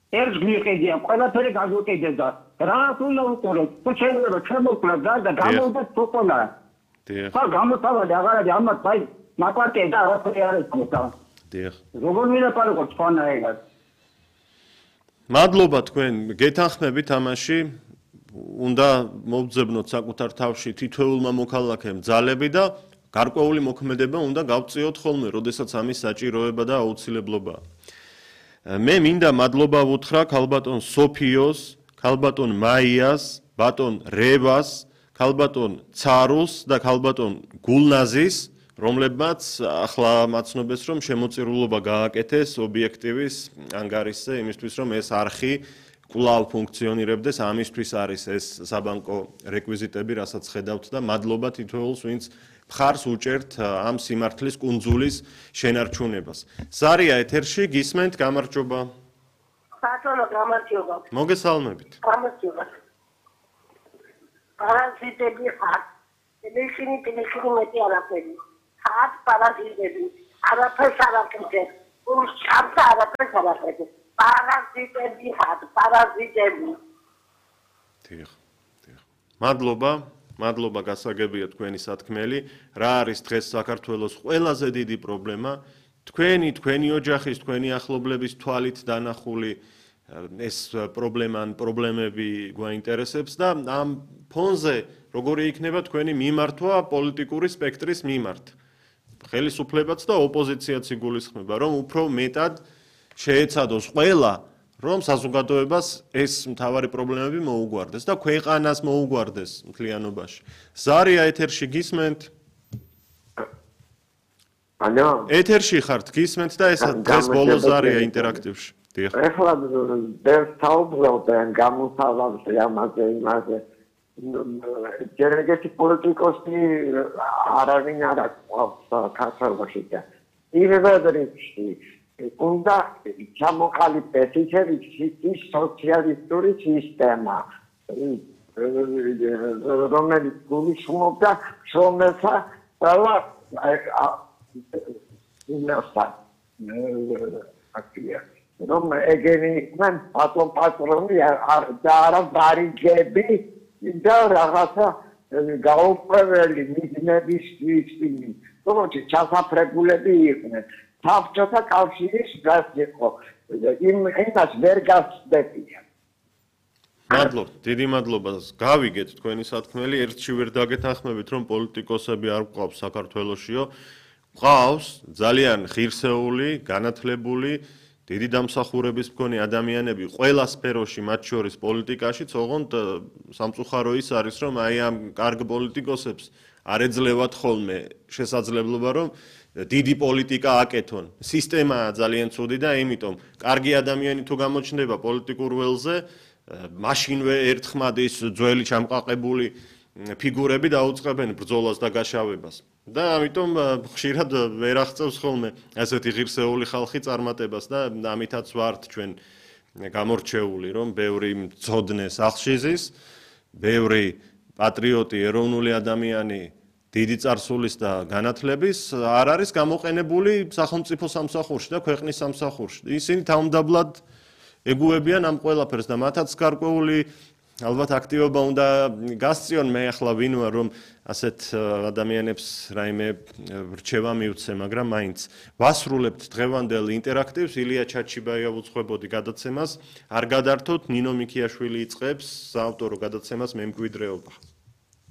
ერთ მიყიდია, ყველაფერი გაგუკიდებ და რა უნდა უყუროთ? თუ შეიძლება შემოკლებ და გამოვდეთ თვითონა. დიახ. ხა გამოთავაზე აღარადი ამათ აი მაკვარტია და არაფერი არ ექნება. დიახ. როგორ ვილაპარაკოთ სხვანაირად? მადლობა თქვენ გეთანხმებით ამაში. უნდა მოვძებნოთ საკუთარ თავში თითოეულმა მოქალაქემ ძალები და გარკვეული მოქმედება უნდა გავწიოთ ხოლმე, როდესაც ამის საჭიროება და აუცილებლობაა. მე მინდა მადლობა ვუთხრა ქალბატონ სოფიოს, ქალბატონ მაიას, ბატონ რევას, ქალბატონ ცარუს და ქალბატონ გულნაზის, რომლებმაც ახლა მაცნობეს, რომ შემოწირულობა გააკეთეს ობიექტივის ანგარიშზე იმისთვის, რომ ეს არხი კვლავ ფუნქციონირებდეს, ამისთვის არის ეს საბანკო რეკვიზიტები, რასაც ხედავთ და მადლობა თითოეულს, ვინც მხარს უჭერთ ამ სიმართლის კუნძულის შენარჩუნებას. ზარია ეთერში, გისმენთ, გამარჯობა. ბატონო, გამარჯობა. მოგესალმებით. გამარჯობა. პარაზიტები ხარ. ისინი მეტი არაფერი. ხარ პარაზიტები. არაფერს არ აკეთებ. უშამს არაფერს არ აკეთებ. პარაზიტები ხარ, პარაზიტები. დიახ. მადლობა გასაგებია თქვენი სათქმელი. რა არის დღეს საქართველოს ყველაზე დიდი პრობლემა? თქვენი ოჯახის, თქვენი ახლობლების თვალით დანახული ეს პრობლემები გვაინტერესებს და ამ ფონზე როგორი იქნება თქვენი მიმართვა პოლიტიკური სპექტრის მიმართ. ხელისუფლებაც და ოპოზიციაც იგულისხმება, რომ უფრო მეტად შეეცადოს ყველა რომ საზოგადოებას ეს მთავარი პრობლემები მოუგვარდეს და ქვეყანას მოუგვარდეს მთლიანობაში. ზარია ეთერში გისმენთ? ალო. ეთერში ხართ, გისმენთ და ეს დღეს ბოლო ზარია ინტერაქტივში. დიახ. ეხლა საუბრობთ გამოსავალზე ამაზე. ჯერეგეთი პოლიტიკოსი არავინ არ აქვს საქართველოში და ირევადრიში უნდა ჩამოყალიბდეს ის სოციალისტური სისტემა, რომელიც გულისხმობდა შრომელთა ყველა რომ ეგენი იყვნენ პატრონი და არა ბარიგები და რაღაცა გაუპრეველი მიზნებისთვის, თუმცა ჩასაფრებულები იყვნენ. საბჭოთა კავშირის გას იყო. იმას ვერ გასწდებია. დიდი მადლობა. გავიგეთ თქვენი სათქმელი, ერთში ვერ დაგეთანხმებით, რომ პოლიტიკოსები არ გვყავს საქართველოშიო. გვყავს ძალიან ღირსეული, განათლებული, დიდი დამსახურების მქონე ადამიანები ყველა სფეროში, მათ შორის პოლიტიკაშიც, ოღონდ სამწუხარო ის არის, რომ აი ამ კარგ პოლიტიკოსებს არ ეძლევათ ხოლმე შესაძლებლობა, რომ დიდი პოლიტიკა აკეთონ. სისტემაა ძალიან ცუდი და იმიტომ კარგი ადამიანი თუ გამოჩნდება პოლიტიკურ ველზე, მაშინვე ერთხმად ის ძველი ჩამყაყებული ფიგურები დაუწყებენ ბრძოლას და გაშავებას. და ამიტომ ხშირად ვერ აღწევს ხოლმე ასეთი ღირსეული ხალხი წარმატებას და ამითაც ვართ ჩვენ გამორჩეული, რომ ბევრი მწოდნე სახშიზის, ბევრი პატრიოტი, ეროვნული ადამიანი დიდი წარსულის და განათლების არ არის გამოყენებული სახელმწიფო სამსახურში და ქვეყნის სამსახურში. ისინი თავმდაბლად ეგუებიან ამ ყველაფერს და მათაც გარკვეული ალბათ აქტივობა უნდა გასწიონ. მე ახლა ვინ ვარ, რომ ასეთ ადამიანებს რაიმე რჩევა მივცე, მაგრამ მაინც ვასრულებთ დღევანდელ ინტერაქტივს. ილია ჩაჩიბაია უძღვებოდი გადაცემას. არ გადართოთ, ნინო მიქიაშვილი იწყებს საავტორო გადაცემას მემკვიდრეობა.